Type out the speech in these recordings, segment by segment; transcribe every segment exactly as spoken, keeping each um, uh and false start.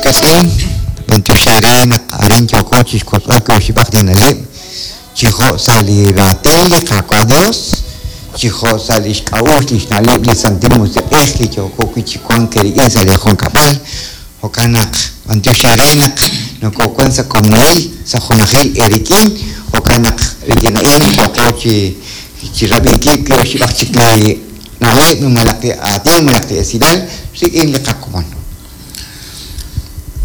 Wiitz'in, b'antiox eere naq arin yooko chixwotzb'al wiib' oxib'aq li na'leb' chi jo' sa' li raatin li Qaawa' Dios, chi jo' sa' lix k'a'uxl lix na'leb' li Santil Musiq'ej li yooko wi' chi wank eerik'in sa' li junkab'al. Jo'kan naq b'antiox eere naq nokowan sa' komonil, sa' junajil eerik'in, jo'kan naq rik'in a'in yooko chi chi rab'inkil wiib' oxib'aq chik li na'leb' malaj li aatin malaj li esilal rik'in li qakomon.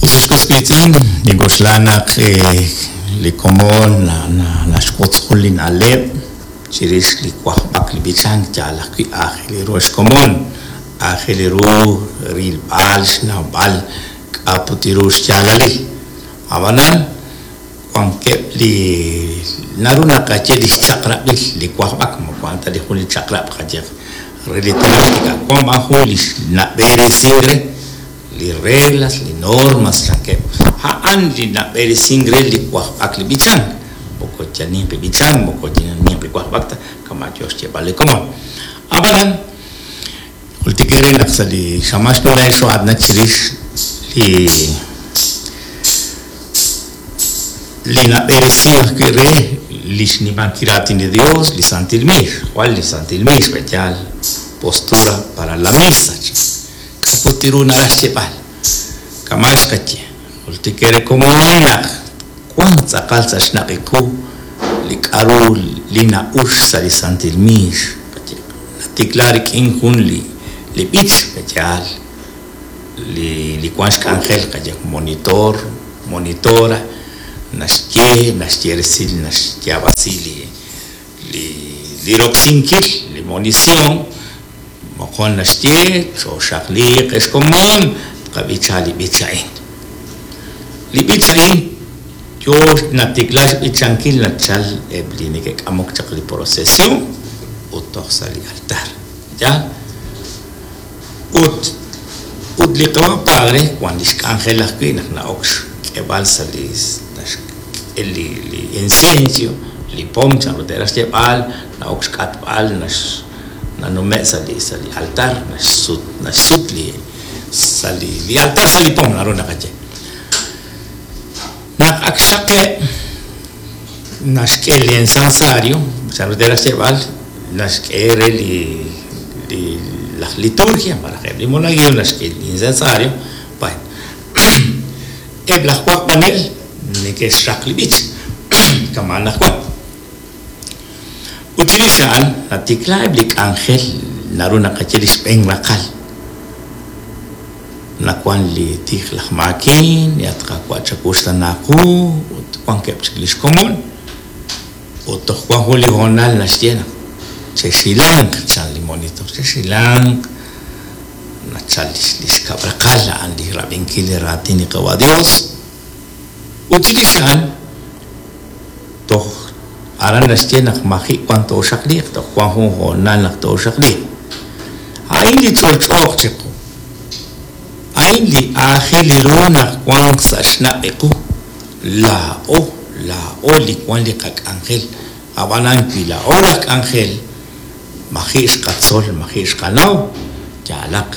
Ut ex was wiitz'in, nink'oxla naq li komon naxwotz jun li na'leb' chirix li wajb'ak li b'ichank yaal ajwi' aajel ru xkomon, aajel ru rilb'al xnawb'al k'a' put ru xyaalalil. Ab'anan wankeb' li naru naqaye li xchaq'rab'il li wajb'ak, moko a'an ta li jun li chaq'rab' qaye re li tenamit, wan b'an jun li nab'eresink re li reglas, li normas chankeb'. A'an li nab'eresink re li wajb'ak li b'ichank, moko yal ninqi b'ichank, moko yal ninqi wajb'ak ta kama' yo xyeeb'al li komon. Ab'anan jultik eere naq sa' li xamaan xnume'k xo'aatinak chirix li li nab'eresink ajwi' re li xnimankil raatin li Dios, li Santil Miix, jwal li Santil Miix b'eyaal postura para la misa. K'a' put ru naraj xyeeb'al kama' xqaye jultik eere komon naq wan tz'aqal sa' xnaq'iku li k'a'ru li na'ux sa' li Santil Miix. Natikla rik'in jun li li b'ich b'eyaal li li wan xk'anjel qaye monitor, monitora, naxye naxye resil naxyaab'asi li li li roksinkil li monición moqon naxye chooxaqliiq ex komon tqab'icha li b'ich a'in. Li b'ich a'in yo natikla xb'ichankil nachal eb' li neke'k'amok chaq li procesión ut toj sa' li altar. Ya? Ut ut li qawa' padre wan lix k'anjel ajwi' naq na'ok xk'eb'al sa' li naxk'e li li incienso, li pom chanru te'raj xyeeb'al, na'ok xk'atb'al nax nanume' sa' li sa' li altar, naxsut naxsut li sa' li li altar sa' li pom naru naqaye. Naq ak xaqe' naxk'e li incensario, chanru te'raj xyeeb'al, naxk'e re li li laj liturgia malaj eb' li monaguillo naxk'e li incensario. Bueno, eb' laj wajb'anel neke'xraq li b'ich kama' anaqwan. Ut chirix a'an natikla eb' li k'anjel naru naqaye li xb'een raqal. Nawan li tij laj maakin, li at Qaawa' chakuxtanaaqu, ut wankeb' chik li xkomon. Ut toj wan jun li hoonal naxye naq chexilanq chan li monitor, chexilanq nachal li xkab' raqal a'an li rab'inkil li raatin li Qawa' Dios. Ut chirix a'an toj aran naxye naq maji' wan tooxaqliiq, toj wan jun hoonal naq tooxaqliiq. A'in li ch'olch'ooq chiqu. A'in li aajel ru naq wanq sa' xnaq'iqu. Laa'o, laa'o li wan li qak'anjel. Ab'anan wi laa'o laj k'anjel, maji' xqatzol, maji' xqanaw, yaalaq.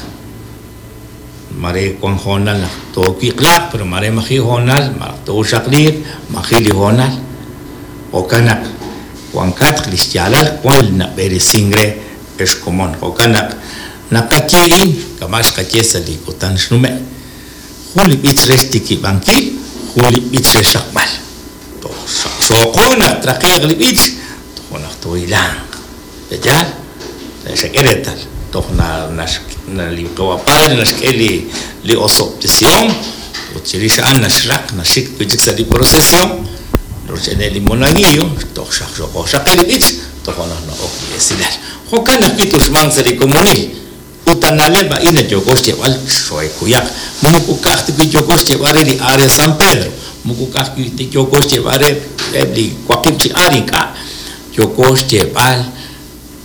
Mare wan hoonal naq toowiq'laaq, pero mare maji' hoonal, malaj tooxaqliiq, maji' li hoonal. Jo'kan naq wankatq li xyaalal wan li nab'eresink re ex komon. Jo'kan naq naqaye a'in kama' xqaye sa' li kutan xnume'. Jun li b'ich re xtikib'ankil, jun li b'ich re xraqb'al. Toj xaqxooqo naq traqe'q li b'ich, toj naq toohilanq. Yaal? Xak'e reetal. Toj na na li Qawa' padre naxk'e li li osob'tesihom, ut chirix a'an naxraq naxik wi' chik sa' li procesión, roch'ene li monaguillo, toj xaqxooqo xaqe li b'ich, toj naq na'ok li esilal. Jo'kan ajwi' tuxmanq sa' li komonil. Ut na'leb' a'in yooko xyeeb'al xoekuyaq. Moko ka'aj ta wi' yooko xyeeb'al re li área San Pedro, moko ka'aj wi' yooko xyeeb'al re eb' li waqib' chi área ink'a'. Yooko xyeeb'al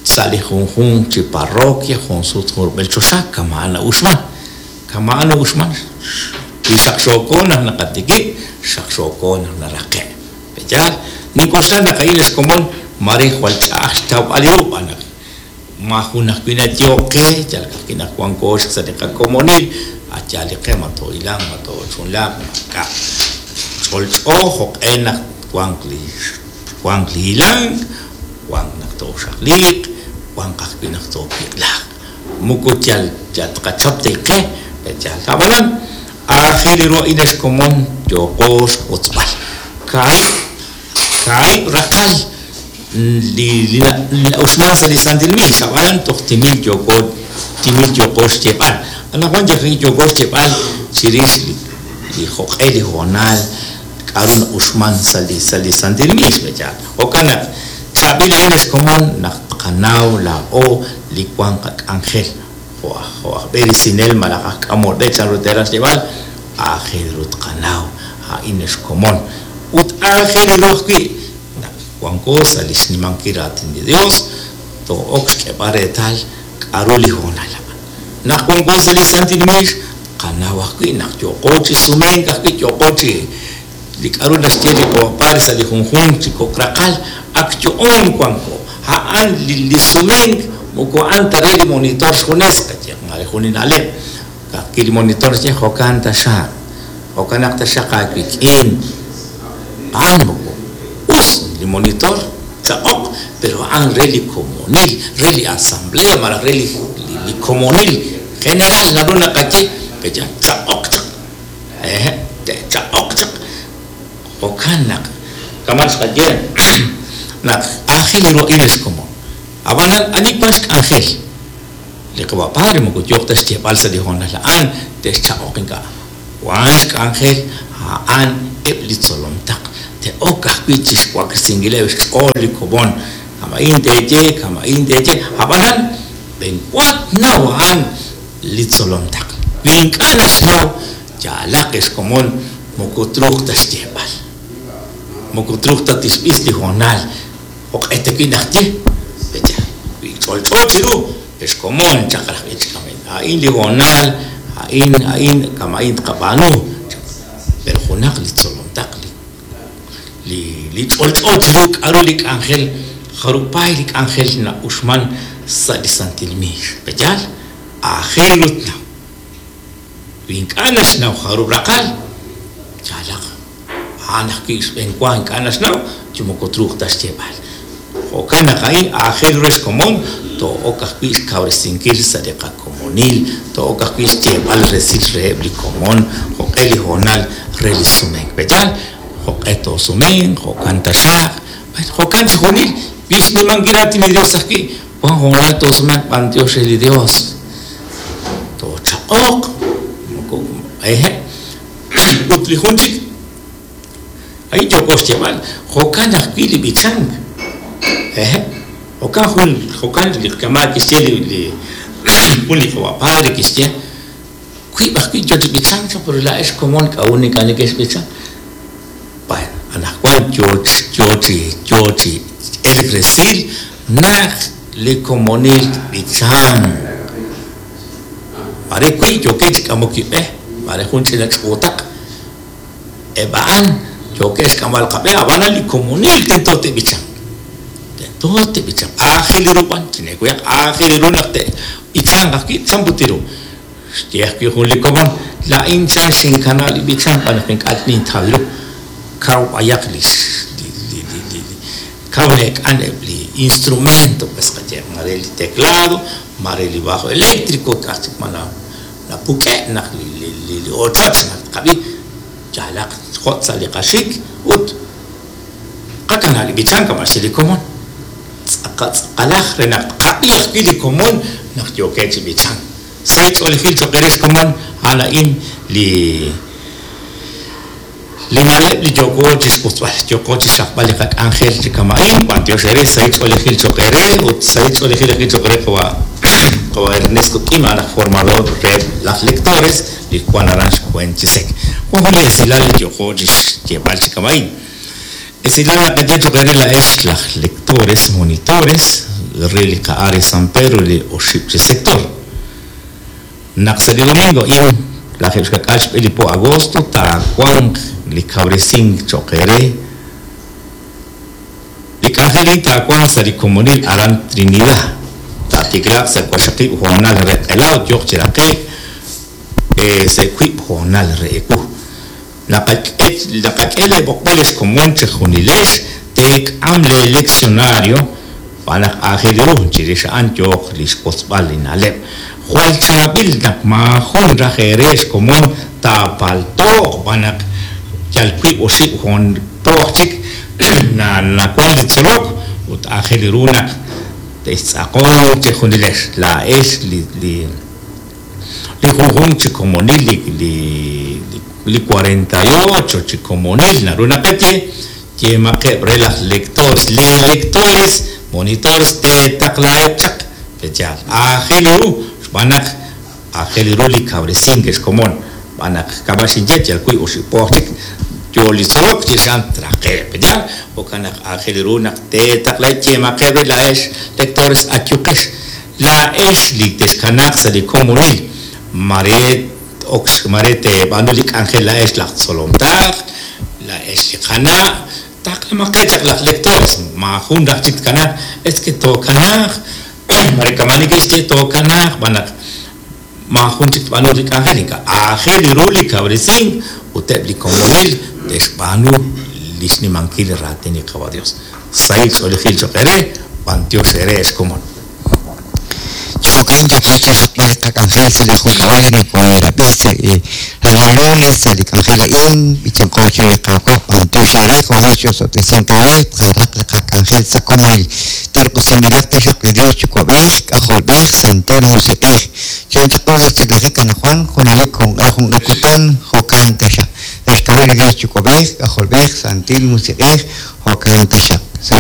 sa' li junjunq chi parroquia, jun sut jun rub'el choxa, kama' na'uxman. Kama' na'uxman. Wi xaqxooko naq naqatikib', xaqxooko naq naraqe'. Yaal, nink'oxla naq a'in ex komon mare jwal ch'a'aj xtawb'al ru b'an naq ma jun ajwi' nayo'qe, yal ka'ajwi' naq wanko sa' li qakomonil, Ayal li qe ma toohilanq ma toochunlaaq ma ka' ch'olch'o jo'q'e naq wanq li wanq li hilank, wanq naq tooxaqliiq, wanq ajwi' naq toowiq'laaq. Moko yal yal tqachap te'qe, yal ab'anan aajel ru a'in ex komon yooqo xwotzb'al. Kaahib' kaahib' raqal li li na'uxman sa' li Santil Miix, ab'anan toj timil yooko timil yooko xyeeb'al. Anaqwan yooko xyeeb'al chirix li li jo'q'e li hoonal k'aru na'uxman sa' li sa' li Santil Miix b'eyaal. Jo'kan naq chaab'il a'in ex komon naq tqanaw laa'o li wan qak'anjel jo' aj jo' aj b'eresinel malaj aj k'amol b'e chanru teeraj xyeeb'al aajel ru tqanaw a'in ex komon. Ut aajel ru ajwi' naq wanko sa' li xnimankil raatin li Dios too'ok xk'eeb'al reetal k'aru li hoonal a'an. Naq wanko sa' li Santil Miix qanaw ajwi' naq yooqo chi sumenk ajwi' yooqo chi li k'aru naxye li qawa' sa' li junjunq chi kok' raqal ak yo'on wanko. A'an li li sumenk moko a'an ta re li monitor xjunes qaye mare jun li na'leb'. Ka'ajwi' li monitor xye jo'kan taxaq, jo'kan naq taxaq aawik'in. A'an moko us li monitor chaq'oq, pero a'an re li komonil, re li asamblea malaj re li li komonil general naru naqaye peya chaq'oq chaq. Eh, chaq'oq chaq. Jo'kan naq kama' xqaye naq aajel ru a'in ex komon. Ab'anan ani wan xk'anjel li qawa' padre moko yooq ta xyeeb'al sa' li hoonal a'an te'xchaq'oq ink'a'. Wan xk'anjel a'an eb' li tzolom taq te'ok ajwi' chixwaklesinkileb' xch'ool li komon. Kama'in teeye, kama'in teeye, ab'anan b'enwa tnaw a'an li tzolom taq. Wi ink'a' naxnaw yaalaq ex komon moko truuq ta xyeeb'al. Moko truuq ta tixb'is li hoonal jo'q'e ta wi' naq ye. Pecha, wi ch'olch'o chiru ex komon chaq raj ichkamen. A'in li hoonal, a'in a'in kama'in tqab'aanu. Pero junaq li tzolom taq li li li ch'olch'o chiru k'aru li k'anjel jarupay li k'anjel na'uxman sa' li Santil Miix. Peyaal, aajel ru tnaw. Wi ink'a' naxnaw jarub' raqal, yaalaq a'an ajwi' xb'enwa ink'a' naxnaw chi moko truuq ta xyeeb'al. Jo'kan naq a'in aajel ru ex komon too'ok ajwi' xkawresinkil sa' li qakomonil, too'ok ajwi' xyeeb'al resil reheb' li komon jo'q'e li hoonal re li sumenk. Peyaal, jo'q'e toosumenk, jo'kan taxaq, jo'kan chixjunil wi xnimankil raatin li Dios ajwi' wan hoonal toosumenk b'antiox re li Dios. Toochaq'oq, moko eje ut li jun chik ahí yooko xyeeb'al jo'kan ajwi' li b'ichank. Eje jo'kan jun jo'kan li kama' kixye li li jun li qawa' padre kixye wiib' ajwi' yo chi b'ichank chaq pero laa'ex komon k'a'ut ink'a' neke'xb'ichan. Bueno, anaqwan yo yo chi yo chi elk resil naq li komonil b'ichank. Mare wi' yookeb' chi k'amok kib'e, mare jun ch'ina ch'uutaq eb' a'an yookeb' xk'amb'al qab'e, ab'anan li komonil tento te'b'ichank. Tento te'b'ichank. Aajel ru b'an, chinekuyaq aajel ru naq te'b'ichanq ajwi' chanput ru. Xye ajwi' jun li komon, la'in chan xinkana' li b'ichank b'an naq ink'a' nintaw ru. Kaw b'ayaq li li li li li kaw nek'an eb' li instrumento, pues qaye mare li teclado, mare li bajo eléctrico, k'aj chik ma na napuk'e' naq li li li li ochoch naq tqab'i yaalaq jo' sa' li qaxik ut qakana' li b'ichank kama' xye li komon. Tz'aqalaj re naq tqab'i ajwi' li komon naq yookeb' chi b'ichank. Sahil ch'oolejil cho'q re xkomon a'an a'in li li na'leb' li yooko chi xwotzb'al, yooko chi xraqb'al li qak'anjel chi kama'in, b'antiox eere sahil ch'oolejil cho'q eere ut sahil ch'oolejil ajwi' cho'q re qawa' qawa' Ernesto Kim, a'an aj formador re laj lectores li wan aran xkwen chi sek. Wan jun li esilal li yooko chi xyeeb'al chi kama'in. Esilal naqaye cho'q eere la'ex laj lectores, monitores re li qa'are San Pedro li oxib' chi sector. Naq sa' li domingo in lajeb' xkak'al xb'e li po agosto taawanq li kawresink cho'q eere. Li k'anjel a'in taawanq sa' li komonil aran Trinidad. Taatiklaaq sa' waqxaqib' hoonal re q'ela ut yooq chi raqe'k Sa' wiib' hoonal re ewu. Naqak'e leeb'oqb'al ex komon chejunilex teek'am leeleccionario xb'aan naq aajel ru chirix a'an yooq li xwotzb'al li na'leb'. Jwal chaab'il naq maajun raj eere ex komon taapalto'q xb'aan naq yal wiib' oxib' hoon po aj chik nawank li tzolok ut aajel ru naq te'xtz'aqonq chejunilex laa'ex li li li junjunq chi komonil li li li cuarenta y ocho chi komonil naru naqaye yeemaqeb' re laj lectores leelectores monitores teetaqlaheb' chaq peyaal aajel ru xb'aan naq aajel ru li kawresink ex komon xb'aan naq kama' xinye yal wiib' oxib' po aj chik yo li tzolok chirix a'an traqe'q peyaal jo'kan naq aajel ru naq teetaqlaheb' yeemaqeb' re laa'ex lectores ayuqex laa'ex li texkanaaq sa' li komonil mare ok mare teeb'aanu li k'anjel laa'ex laj tzolom taq laa'ex li qana' taqlamaqeb' chaq laj lectores maajun raj chik tkanaaq es que tookanaaq mare kama' neke'xye tookanaaq xb'aan naq maajun chik tb'aanu li k'anjel ink'a' aajel ru li kawresink ut eb' li komonil te'xb'aanu li xnimankil li raatin li Qaawa' Dios. Sahil ch'oolejil cho'q eere, b'antiox eere ex komon. Jo'kan yooqo chi xraqb'al li qak'anjel sa' li junkab'al nokoorab'i sa' li lunes sa' li k'anjel a'in b'ichanqo chiru li Qaawa' b'antiox eere jo' x'osob'tesink eere tqaraq li qak'anjel sa' komonil. Terq'usinb'ilaq taxaq li Dios Yuwa'b'ej, K'ajolb'ej, Santil Musiq'ej. Chalen chaq sa' xtiklajik anaqwan junelik junq'e junq'e kutan jo'kan taxaq. Sa' xk'ab'a' li Dios Yuwa'b'ej, K'ajolb'ej, Santil Musiq'ej, jo'kan taxaq.